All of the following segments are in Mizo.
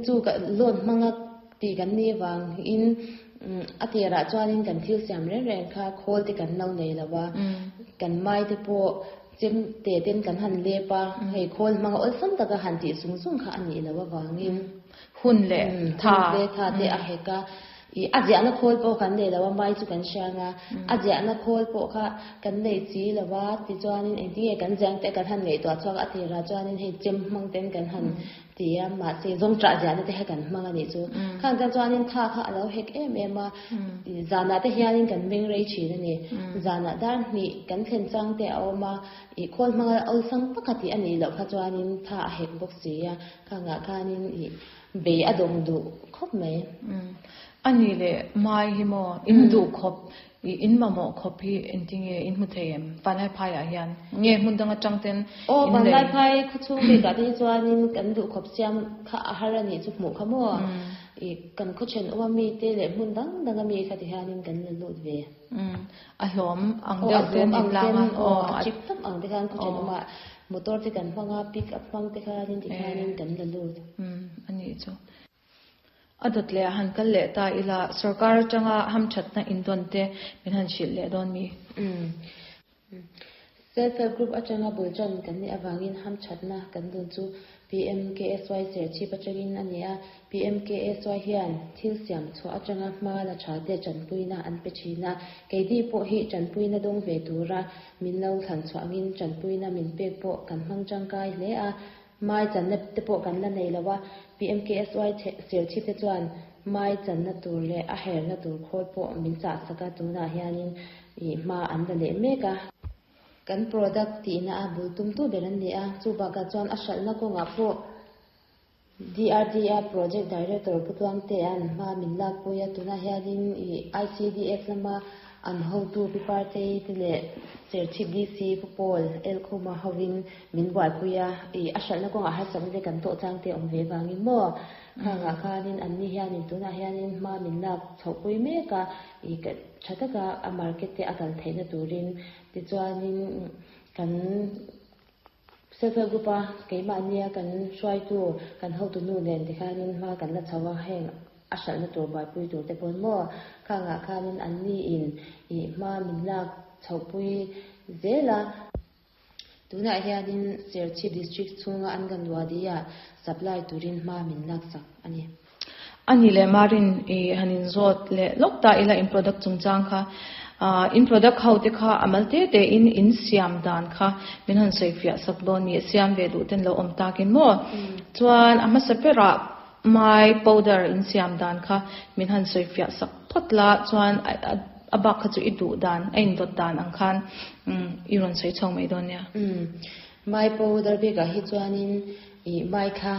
Chu loan hmanga tih kan nih avangin a tirah chuanin kan thil siam reng reng kha khawl te kan lo nei lo a, kan mai te pawh chem te ten kan han lep a, hei khawl hmanga awlsam taka han tih zung zung kha a nih loh avangin hun leh tha hun leh tha te a hek a. Ih a ziahna khawl pawh kan nei lo a, mai chu kan hriang a, a ziahna khawl pawh kha kan nei chi lo a, tichuanin engtinge kan ziah ang tih kan han ngaihtuah chhuak a, a tirah chuanin hei chem hmang ten kan han ti a, mahse zawngṭah ziahna te kha kan hmang a nih chu. Khang tan chuanin tha kha a lo hek em em a, zanah te hianin kan meng rei thin a ni. Zanah dar hnih kan thlen chang te a awm a, ih khawl hmanga awlsam taka tih a nih loh kha chuanin tha a hek bawk si a, khangah khanin ih Bei a dawng duh khawp mai. A nih leh mai hi maw in duh khawp i in mamawh khawp hi engtinge in hmu thei em? Vanlaiphai ah hian nge hmun dang atang ten Aw in lei? Vanlaiphai khawchhung bikah te hi chuanin kan duh khawp siam kha a har a nih chu hmuh kha maw? I kan khawthen awm a mi te leh hmun dang dang a mi kha ti hianin kan la lut ve. A hlawm ang deuh te an tlang a. Aw a chip tak ang te khan khawthen awm ah Motor te kan hmang a, pick up hmang te khanin ti khanin kan la lut. Umm a nih chu. A dawt leh a han kal leh ta ila, sorkar atanga hamthatna indawn te min han hrilh leh dawn mi? Umm. Self help group atanga bul tan kan nih avangin hamthatna kan dawn chu PMKSY Serchhip atangin a ni a, PMKSY hian thil siam chhuah atanga hma la tha te tanpuina an pe thin a, keini pawh hi tanpuina dawng ve tura Min lo thlan chhuah angin tanpuina min pek pawh kan hmang tangkai hle a, mai channa te pawh kan la nei lo a, PMKSY Serchhip te chuan mai channa tur leh a herna tur khawl pawh min chah sak a, tunah hianin ih hma an la leh mek a. Kan product tihna a bul tumtu ber an ni a, chu bakah chuan a hralhna kawngah pawh DRDA Project Director Pu Tluangtea'n hma min lakpui a, tunah hianin ih ICDS lama an hotu Pi Partei te leh Serchhip DC Pu Paul Elkhuma hovin min buaipui a, ih a hralhna kawngah harsatna te kan tawh chang te awm ve vangin maw khangah khanin anni hianin tunah hianin hma min lak chhohpui mek a, ih tha taka a market te a kal theihna turin tichuanin kan Self help group a keimahnia kan hruaitu kan hotu nu nen tikhanin hma kan la chho a, heng a hralhna tur buaipui tur te pawn maw khangah khanin anni in ih hma min lak chhohpui zel a. Tunah hianin Serchhip District chhunga Anganwadi ah supply turin hma min laksak a ni. A nih leh Marin i han inzawt leh lawk ta ila in product chungchang kha. In product ho te kha a mal te te in in siam dan kha min han sawi fiah sak dawn ni, siam ve duh ten lo awm takin maw? Chuan a hmasa berah mai powder in siam dan kha min han sawi fiah sak phawt la, chuan a bak kha chu i duh dan, a indawt dan ang khan i rawn sawi chho mai dawn nia. Mai powder bikah hi chuanin i mai kha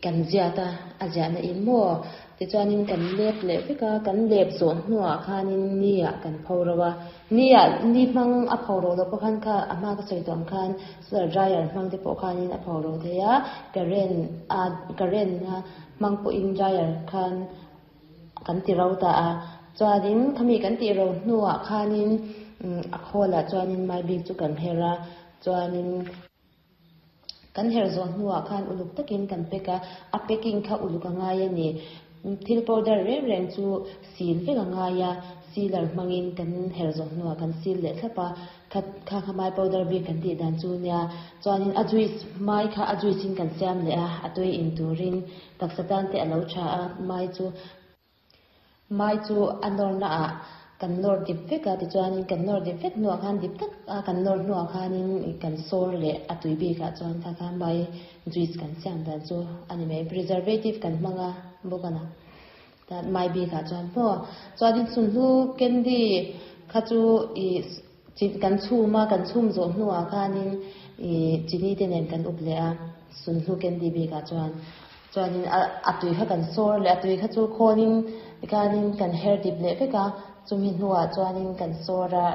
Kan ziat a, a ziahna in maw? Tichuanin kan lep leh vek a, kan lep zawh hnuah khanin ni-ah kan pho ro a. Ni-ah, ni hmang a pho ro loh pawh khan kha a hma ka sawi tawh ang khan solar dryer hmang te pawh khanin a pho ro thei a, current a current a hmang pawhin dryer khan kan ti ro ta a. Chuanin khami kan tih ro hnuah khanin a khawlah chuanin mai bik chu kan her a, chuanin. Kan herh zawh hnuah khan uluk takin kan pack a, a packing kha uluk a ngai a ni. Thil powder reng reng chu seal vek a ngai a, sealer hmangin kan herh zawh hnuah kan seal leh thlap a, kha kha kha mai powder bik kan tih dan chu nia. Chuanin a juice mai kha a juice in kan siam leh a, a tui in turin taksa tan te a lo tha a, mai chu Mai chu a nawrna ah kan nawr dip vek a, tichuanin kan nawr dip vek hnuah khan dip tak a kan nawr hnuah khanin kan sawr leh a tui bikah chuan kha kha mai juice kan siam dan chu a ni mai. Preservative kan hmang a bawk a na ta mai bikah chuan maw. Chuanin sunhlu candy kha chu ih kan chhum a, kan chhum zawh hnuah khanin ih chini te nen kan up leh a sunhlu candy bikah chuan. Chuanin a a tui kha kan sawr leh a tui kha chu khawnin tikhanin kan her dip leh vek a, chumi hnuah chuanin kan sawr a,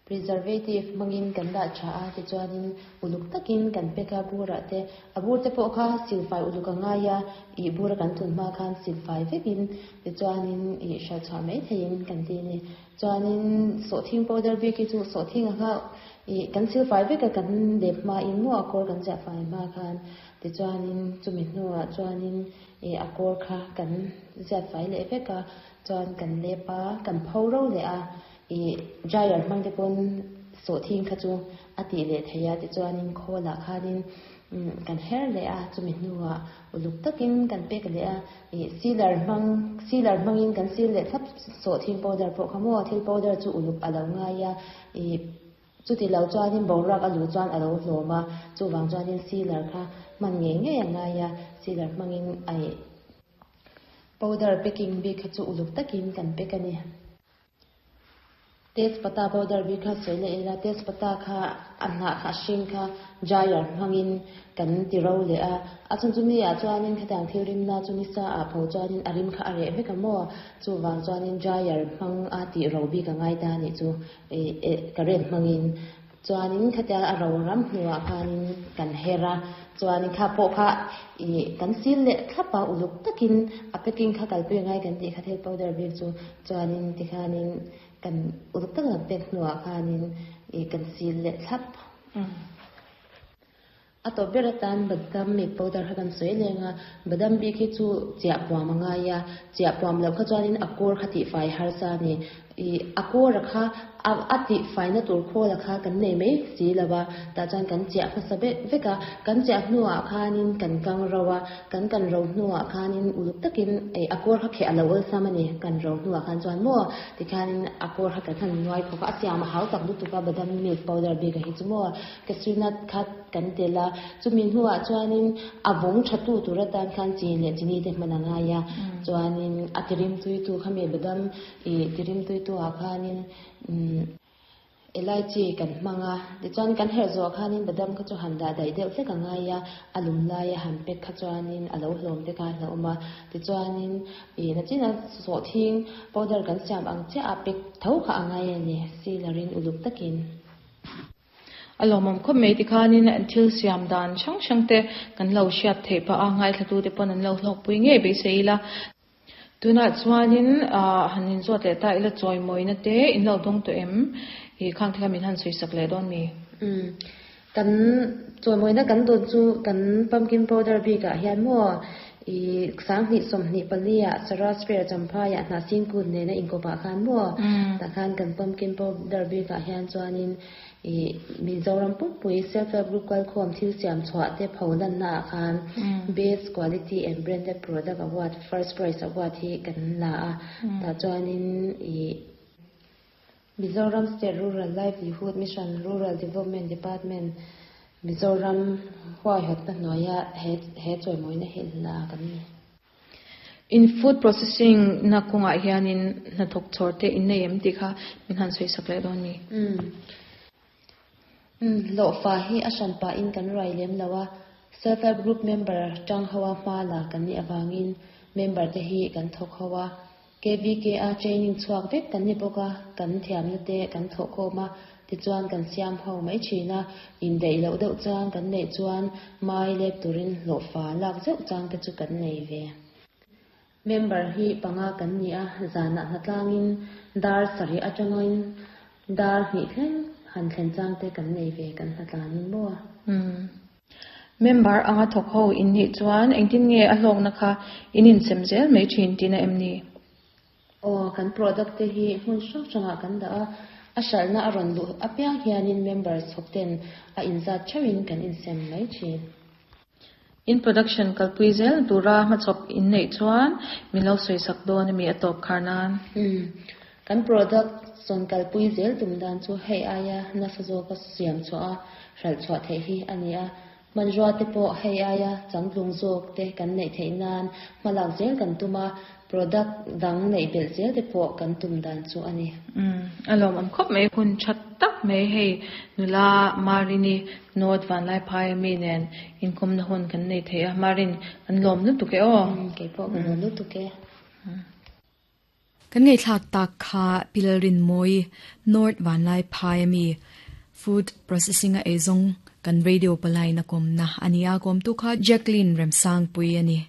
preservative hmangin kan dah tha a, tichuanin uluk takin kan pack a burah te, a bur te pawh kha silfai uluk a ngai a, ih bura kan tun hma khan silfai vekin tichuanin ih hralh chhuah mai theihin kan ti a ni. Chuanin sawhthing powder bik hi chu sawhthing a kha ih kan silfai vek a kan lep hmain maw a kawr kan ziah fai hma khan. Tichuanin chumi hnuah chuanin ih a kawr kha kan ziat fai leh vek a, chuan kan lep a, kan pho ro leh a, ih dryer hmang te pawn sawhthing kha chu a tih leh theih a, tichuanin khawlah khanin kan her leh a, chumi hnuah uluk takin kan pek leh a, ih sealer hmang sealer hmangin kan seal leh thlap sawhthing powder pawh kha maw thil powder chu uluk a lo ngai a, ih. Chuti lo chuanin boruak a luh chuan a lo hlawm a, chuvang chuanin sealer kha hman ngei ngei a ngai a, sealer hmangin aih powder packing bik kha chu uluk takin kan pack a ni. Tezpata powder bik kha sawi leh ila, tezpata kha a hnah kha a hring kha dryer hmangin kan ti ro leh a, a chhan chu mi ah chuanin khatiang thil rimna chu nisa ah pho chuanin a rim kha a reh vek a maw, chuvang chuanin dryer hmang a tih ro bik a ngai ta a nih chu. Current hmangin chuanin khatia a ro ram hnuah khanin kan her a, chuanin kha pawh kha ih kan sil leh thlap a uluk takin a packing kha kalpui angai kan tih kha thil powder bik chu chuanin tikhanin kan uluk taka kan pek hnuah khanin ih kan sil leh thlap. A tawp ber atan badam mi powder kha kan sawi leng a, badam bik hi chu chiah puam a ngai a, chiah puam loh kha chuanin a kawr kha tihfai harsa a ni. Ih a kawra kha a a tihfaina tur khawla kha kan nei mai si lo a, tah chuan kan chiah hmasa vek vek a, kan chiah hnuah khanin kan kang ro a, kan kan ro hnuah khanin uluk takin ih a kawr kha kheh a lo awlsam a ni, kan ro hnuah khan chuan maw tikhanin a kawr kha kan han nuai khawk a, a siam a hau tak lutuk a badam milk powder bik a hi chu maw. Cashew nut kha kan tel a, chumi hnuah chuanin a vawng tha tu tur atan khan chi leh chini te hman a ngai a, chuanin a tirim tui tu khami badam ih tirim tui tu ah khanin umm elaichi kan hmang a, tichuan kan herh zawh khanin badam kha chu han dah daih deuh hlek a ngai a, a lum laia han pek kha chuanin a lo hlawm te kha a hlauhawm a, tichuanin ih nachina sawhthing powder kan siam ang chiah a pek tho kha a ngai a ni, silarin uluk takin. A lawmawm khawp mai tikhanin thil siam dan hrang hrang te kan lo hriat theih phah a, ngaithlatute pawn an lo hlawkpui ngei beisei ila. Tunah chuanin han inzawt leh ta ila chawimawina te in lo dawng tawh em? Ih khang te kha min han sawisak leh dawn mi? Umm kan chawimawina kan dawn chu kan pumpkin powder bikah hian maw ih 2024 ah Saras Fair Champhaiah Hnahsing kut nena inkawpah khan maw tah khan kan pumpkin powder bikah hian chuanin Ih Mizoram pumpui Self Help Group kalkhawm thil siam chhuah te pho lanna ah khan Best Quality and Branded Product Award First Prize Award hi kan la a, tah chuanin ih Mizoram State Rural Livelihood Mission Rural Development Department Mizoram huaihawtna hnuaia he he chawimawina hi la kan ni. In food processing na kawngah hianin hnathawk chhawr te in nei em tih kha min han sawi sak leh dawn ni. Umm. Umm, hlawhfa hi a hran pahin kan ruai lem lo a, Self Help Group member tang ho a hma la kan nih avangin member te hi kan thawk ho a, KVK a training chhuak vek kan ni bawk a, kan thiamna te kan thawh khawm a, tichuan kan siam ho mai thin a, indaih loh deuh chang kan neih chuan mai lep turin hlawhfa lak zeuh chang te chu kan nei ve. Member hi panga kan ni a, zanah hnatlangin dar sarih atangin dar hnih thleng han thlen chang te kan nei ve kan hnatlanin maw? Umm. Member anga thawk ho in nih chuan engtin nge a hlawkna kha in insem zel mai thin tihna em ni? Aw, kan product te hi hmun hrang hrangah kan dah a, a hralhna a rawn luh apiang hianin members thawk ten a inzat theuhin kan insem mai thin. In production kalpui zel tura hmachhawp in neih chuan min lo sawisak dawn ami a tawp khar nan? Umm, kan product sawn kalpui zel tum dan chu hei aia nasa zawka siam chhuah a, hralh chhuah theih hi a ni a. Hmanrua te pawh hei aia changtlung zawk te kan neih theih nan hmalak zel kan tum a, product dang neih belh zel te pawh kan tum dan chu a ni. Umm, a lawmawm khawp mai. Hun tha tak mai hei nula Marini North Vanlaiphai ami nen inkawmna hun kan nei thei a, Marin kan lawm lutuk e aw. Umm, kei pawh ka lawm lutuk e. Kan ngaihthlak tak kha Pi Lalrinmawii, North Vanlaiphai ami Food Processing a eizawng kan radio palai na kawmna a ni a, kawmtu kha Jacqueline Remsangpui a ni.